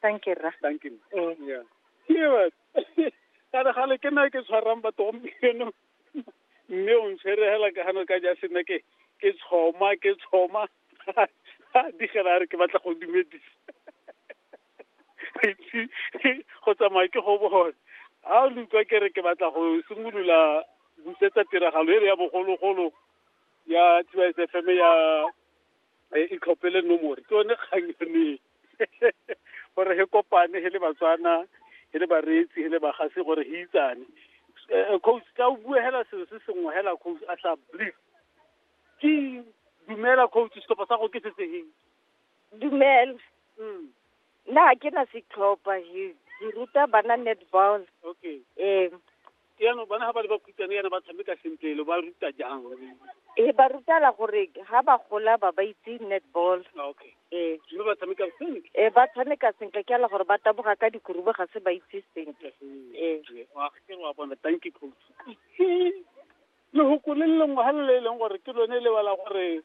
Thank you, rra. Thank you. Ee. Yeah. Ke gale gale ke nna ke tshwarang batho gompieno, mme o ntshwere hela ka gano ka ja sena ke ke tshoma ke tshoma digela a re ke batla go dumedisa itse go tsamaya ke go bone a o le utlwa ke re ke batla go simolola busetsa tiragalo e re ya bogologolo ya TYS FM ya itlhophele nomore, ke yone kgang yone gore he kopane he le Batswana, he le bareetsi, he le bagasi, gore he itsane. Coach, ka o bue hela selo se sengwe hela, coach, a sa brief ke dumela. Coach, setlhopha sa go ke se se heng? Dumela. Nna ga ke na setlhopha, ke ruta bana netball. Ee. Yaanong bana ga ba le ba khutshwane yana ba tshameka sentle, lo ba ruta jang? Ee, ba rutala gore ga ba gola ba itse netball. Ee. Mme ba tshameka sentle? Ee, ba tshameka sentle, ke ala gore ba taboga ka dikurubo, ga se ba itse sentle. Ee. Wa ke wa bona. Thank you, coach. Lehoko le lengwe ga le le e leng gore ke lone le bala gore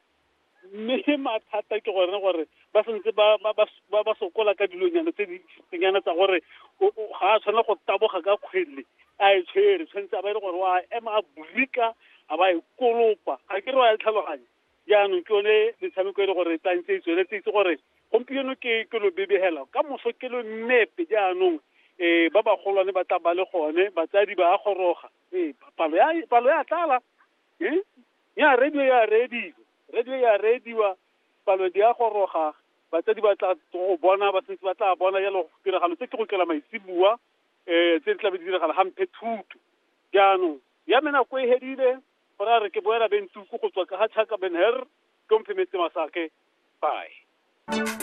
mme mathata ke gone gore ba santse ba sokola ka dilonyana tse dintsinyana tsa gore ga a tshwanela go taboga ka kgwele a e tshwere, tshwanetse a ba e le gore wa ema a brika a ba e kolopa, ga ke re wa e tlhaloganya. Jaanong ke yone metshameko e le gore e tlantse e tsweletse, itse gore gompieno ke lo bebegela, ka moso ke lo mmepe. Jaanong ba bagolwane ba tla ba le gone, batsadi ba a goroga. Ee, palo ya tlala ya radio ya reediwa, radio ya reediwa, palo di a goroga, batsadi ba tla go bona, ba sentse ba tla bona jalo tiragalo tse ke go tlela maitseboa tse di tlabe di diragala gampe thuto. Jaanong ya me nako e hedile gore a re ke boela bentuku go tswa ka ga Chaka Ben Her, ke omphemetse masake. Bye.